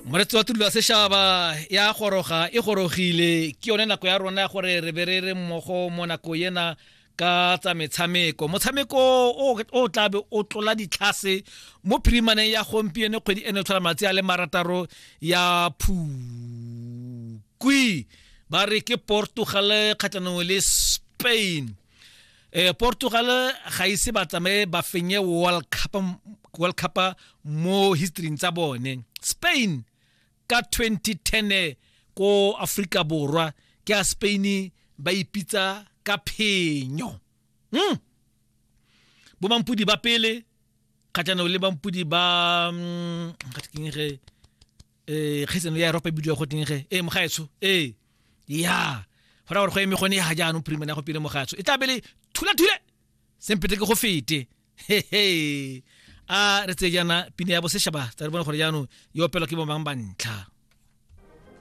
Moretsi wa tulo ya sešaba ya goroga e gorogile ke yone nako ya rona ya gore re be re re mmogo mo nako ena ka tsa metshameko. Motshameko o tla be o tlola ditlhase mo phirimaneng ya gompieno kgwedi eno e tlhola malatsi a le marataro ya Phukwi. Ba re ke Portugal kgatlhanong le Spain. Portugal ga ise ba tsamaye ba fenye World Cup, World Cup mo history tsa bone. Spain ka 2010 ko Afrika Borwa ke a Spain ba ipitsa ka phenyo. Bo mampudi ba pele kgatlhanong le mampudi ba keng ge kgaisano ya Europa e bidiwa go teng ge mogaetsho ya go raya gore go eme gone ya jaanong phirimane ya gompieno mogaetsho e tla be le thula-thule sempete ke go fete hehe. A re tseye jaana pina ya bosešaba tsa re bone gore jaanong e opelwa ke bomang ba ntlha.